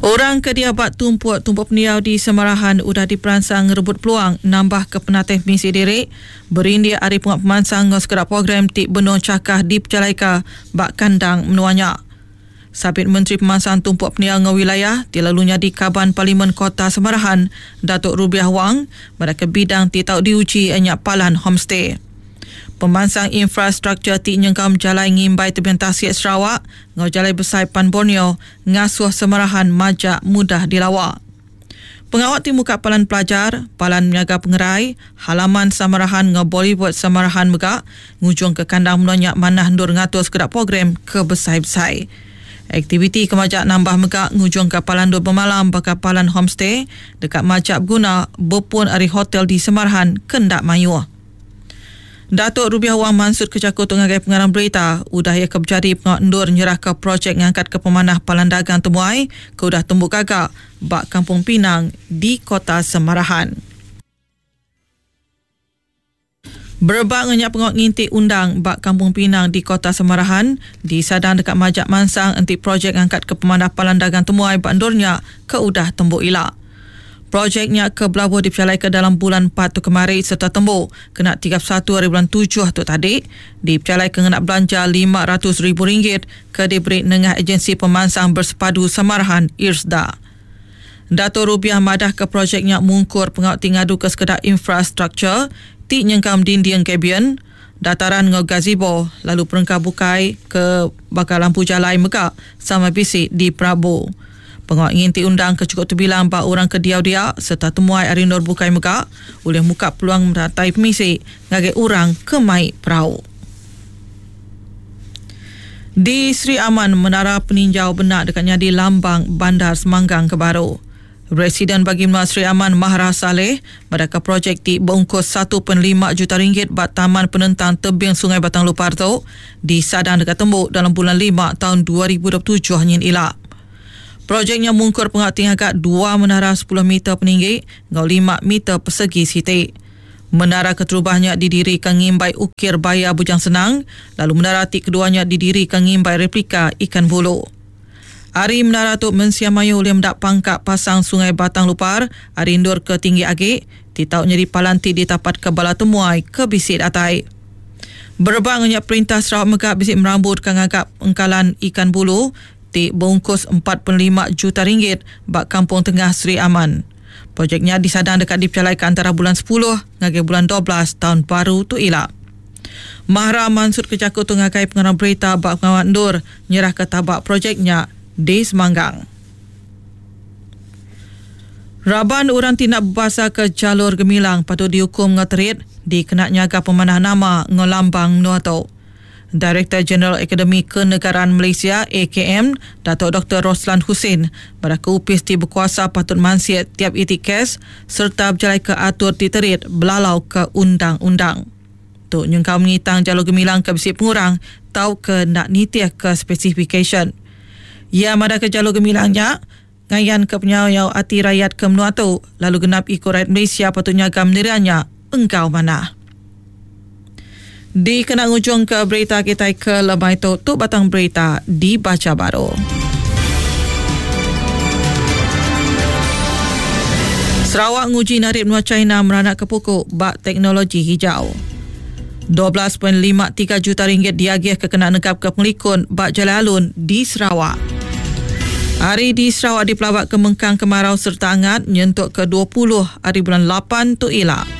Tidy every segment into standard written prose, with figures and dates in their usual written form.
Orang ke diau ba tumpuk-tumpuk pendiau di Samarahan udah diperansang ngerebut peluang nambahka penatai pemisi diri berindik ari pengawa pemansang enggau sekeda program ti benung chakah dipejalaika ba kandang menua nya. Sapit Menteri Pemansang Tumpuk Pendiau enggau Wilayah ti lalu nyadi Kaban Parlimen Kota Samarahan Datuk Rubiah Wang madahka bidang ti tau diuji iya nya palan homestay. Pemansang infrastruktur ti nyengkaum jalai ngimbai tebing tasik Sarawak enggau Jalai Besai Pan Borneo ngasuh Samarahan majak mudah dilawa. Pengawa ti muka palan pelajar, palan menyaga pengerai, halaman Samarahan enggau Boulevard Samarahan mega ngujungka kandang menua nya manah endur ngatur sekeda program ke besai-besai. Aktiviti ke majak nambah mega ngujungka palan endur bemalam baka palan homestay deka majak beguna bepun ari hotel di Samarahan ke enda mayuh. Datuk Rubiah Wang mansutka jaku tu ngagai pengarang berita udah iya ke bejadi pengawa endur nyerahka projek ngangkatka pemanah palan dagang temuai ke udah tembu gaga ba Kampung Pinang di Kota Semarahan. Berebak enggau nya pengawa nginti undang ba Kampung Pinang di Kota Semarahan disadang deka majak mansang enti projek ngangkatka pemanah palan dagang temuai ba endur nya ke udah tembu ila. Projek nya ke belabuh dipejalaika dalam bulan empat tu kemari sereta tembu kena 31 hari bulan tujuh tu tadi dipejalaika ngena belanja RM500 ribu ke diberi nengah Ejensi Pemansang Bersepadu Samarahan, IRSDA. Dato Rubiah madahka projek nya mungkur pengawa ti ngaduka sekeda infrastruktur ti nyengkaum dinding gabion, dataran enggau gazebo lalu perengka bukai ke baka lampu jalai mega sama bisi diperabu. Pengawa nginti undang ke chukup tebilang ba orang ke diau dia sereta temuai ari endur bukai mega ulih muka peluang meratai pemisi ngagai orang ke mai perau. Di Sri Aman, Menara Peninjau Benak deka nyadi lambang Bandar Semanggang ke baru. Residen Bagi Menua Sri Aman Mahra Salleh madahka projek ti beungkus 1.5 juta ringgit ba Taman Penentang Tebing Sungai Batang Lupar tu disadang deka tembu dalam bulan lima taun 2027 nyin ila. Projek nya mungkur pengawa ti ngaga dua menara sepuluh meter peninggi enggau lima meter pesegi siti. Menara keterubah nya didirika ngimbai ukir baya Bujang Senang lalu menara ti kedua nya didirika ngimbai replika ikan bulu. Ari menara tu mensia mayuh ulih meda pangka pasang Sungai Batang Lupar ari endur ke tinggi agi ti tau nyadi palan ti ditapatka bala temuai ke bisi datai. Berebak enggau nya perintah Sarawak mega bisi merambu deka ngaga engkalan ikan bulu ti beungkus 45 juta ringgit ba Kampung Tengah Sri Aman. Projek nya disadang deka dipejalaika antara bulan sepuluh ngagai bulan 12 taun baru tu ila. Mahra mansutka jaku tu ngagai pengarang berita ba pengawa endur nyerahka taba projek nya di Semanggang. Raban orang ti enda bebasaka jalur gemilang patut diukum enggau terit dikena nyaga pemanah nama enggau lambang menua tu. Direktor Jeneral Akademi Kenegaraan Malaysia, AKM, Datuk Doktor Roslan Hussein madahka opis ti bekuasa patut mansik tiap iti kes sereta bejalaika atur ti terit belalauka undang-undang. Tu nyengkaum ngitang jalur gemilang ke bisi pengurang tauka enda nitihka spesifikasyen. Iya madahka jalur gemilang nya ngayanka penyayau ati rayat ke menua tu lalu genap iku rayat Malaysia patut nyaga menira nya enggau manah. Dikena ngujungka berita kitai ke lemai tu, tu batang berita dibacha baru. Sarawak nguji narit menua China meranakka puku ba teknologi hijau. 12.53 juta ringgit diagihka kena negapka pengelikun ba jalai alun di Sarawak. Hari di Sarawak dipelabaka mengkang kemarau sereta angat nyentuk ke 20 hari bulan 8 tu ila.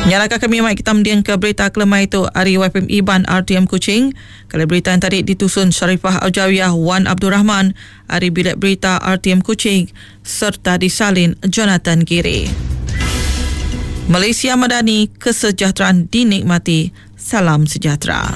Nyalaka kami mai kita mending ke berita kelemai tu ari YPM Iban RTM Kuching. Kali berita yang tadi ditusun Sharifah Aujawiyah Wan Abdul Rahman ari Bilik Berita RTM Kuching serta disalin Jonathan Giri. Malaysia Madani, kesejahteraan dinikmati. Salam sejahtera.